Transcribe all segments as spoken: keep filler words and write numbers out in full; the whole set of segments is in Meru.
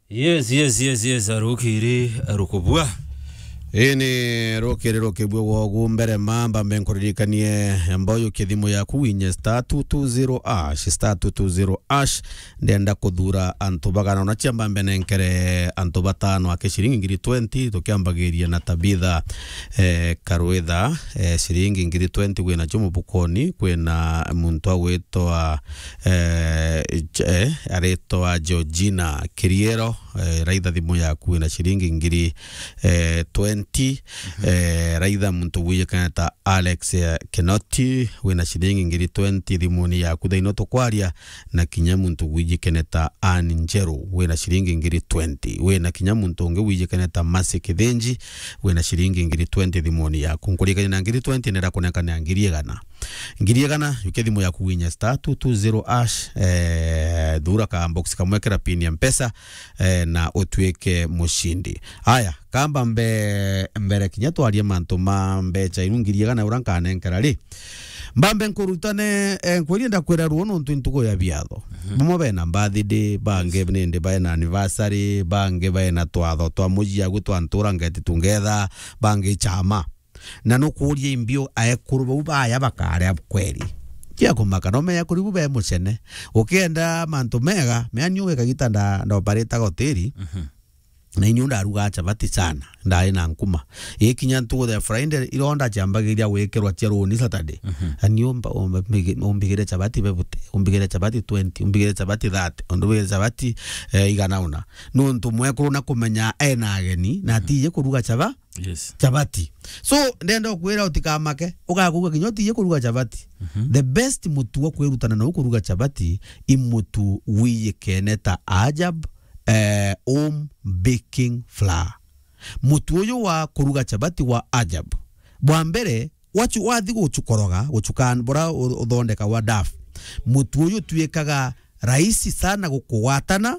Yes, yes, yes, yes, arukiri, arukubua. Ini rukiri rukibua gwogu mbere mamba mbe nkuririkanie mboyu kithimu yaku winye star two two zero hash, star two two zero hash. Ndenda kuthura antu bagana ona ciamba mbe nenkere antu batano ake ciringi ngiri twenty, tukiambagiria na Tabitha, eh, Karwitha, eh, ciringi ngiri twenty wina cio mubukoni, kwina muntu agwitwa, eh, ch-, eh, aritwa Georgina Kiriero, eh, raitha thimu yaku wina ciringi ngiri, eh, twenty, eh, raitha muntu wijikana ta Alex, eh, Kinoti, wina ciringi ngiri twenty thimuni yaku thaino tukwaria, na kinya muntu wijikene ta Ann Njeru, wina ciringi ngiri twenty, wina kinya muntu ungi wijikene ta Mercy Kithinji, wina ciringi ngiri twenty thimuni yaku. Nkuririkania na ngiri twenty nenda kunenkanira ngiri igana. Ngiri igana, yukia thimu yaku winye star two two zero hash, eh, thura ka box kamwe kira pin ya Mpesa, eh, na utuike mucindi. Aya, kamba mbe-, mbere kinya twarie mantu ma mbecha inu ngiri igana ura nkanenkera ri. Mbambe nkurutane, eh, nkweria ndakwira ruo nontu ntuku ya biatho. Mhm. Bamwe bena birthday, bangi nindi bena anniversary, bangi bena twatho twa muciagu twa ntura ngeti tungetha, bangi chama. Na nukuria imbio aekuru bau baya bakaria kweri. Cia kumaka, no mea kuri bu be mucene. Ukienda mantu mega, mea ni uge kagita nda-, ndoparitaga hoteli. Mhm. Na inyu ndaruga chapati sana, ndari na nkuma. Ikinya ntuku ya Friday, ironda ciambagiria gwikirwa cia runi Saturday. Mhm. Ani umba-, umba-, umbigire chapati bebute, umbigire chapati twenty, umbigire chapati thirty, umbigire chapati, eh, igana una. Nontu mwekuru na kumenya ena ageni, na atije kuruga chapa-, Yes. Chapati. So, ndenda kwira utikamake, ugakuga kinya utije kuruga chapati. Mhm. The best mutu wa kwirutana na kuruga chapati, i mutu wiyikene ta Ajab, eh, home baking flour. Mutu uyu wa kuruga chapati wa Ajab. Bwa mbere, wachu-, wathi guchukoroga, guchukan-, bura u-, uthondeka wa dough. Mutu uyu utwikaga rahisi sana gukugwatana,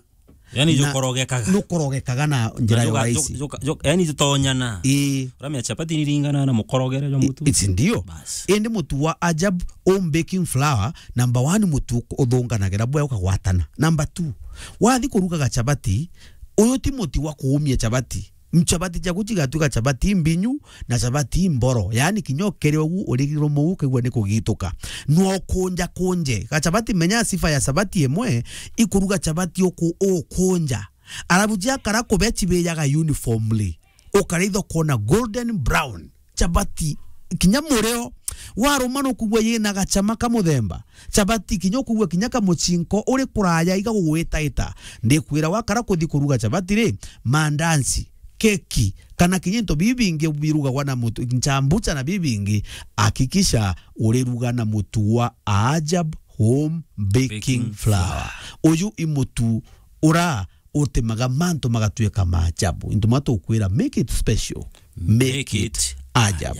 Yani na jukorogekaga. Nukorogekaga na njira ya rahisi. Ju-, ju-, ju-, yani jutonyana. Ii. Uramenya chapati niringana na mukorogere jwa mutu. I-, iti ndio. Bas. Indi mutu wa Ajab home baking flour, number one, mutu uthunganagira bwega ukagwatana. Number two, wathi kurugaga chapati, uyu ti muti wa kuumia chapati. Chapati ciaku cigatwika chapati mbinyu na chapati mboro. Yani kinya ukere ugu urigirwo muu ukaigua ni kugituka. No kunja kunje. Ga chapati, menya sifa ya chapati imwe, ikuruga chapati uku ukunja. Arabu ciakara kube cibijaga uniformly. Ukaraitha ukona golden brown. Chapati, kinya murio, waruma nukwigua yina gachama ka muthemba. Chapati, kinya ukwigua kinya kamuchinko uri kuraya iga gugwitaita. Ndikwira wakara kuthi kuruga chapati ri, mandansi, keki, kana kinya into bibingi birugagwa na mutu, nchambucha na bibingi, hakikisha uriruga na mutu wa Ajab home baking flour. Baking flour. Uyu i mutu ura utimaga mantu magatuika ma ajabu. Into ma tukwira, make it special. Make it ajab.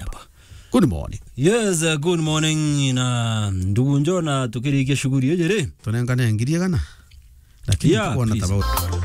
Good morning. Yes, uh, good morning, na ndugu Njona, tukirikia shughuli iji ri. Tunengane ngiri igana. Lakini yeah, tukwona please. Tabau.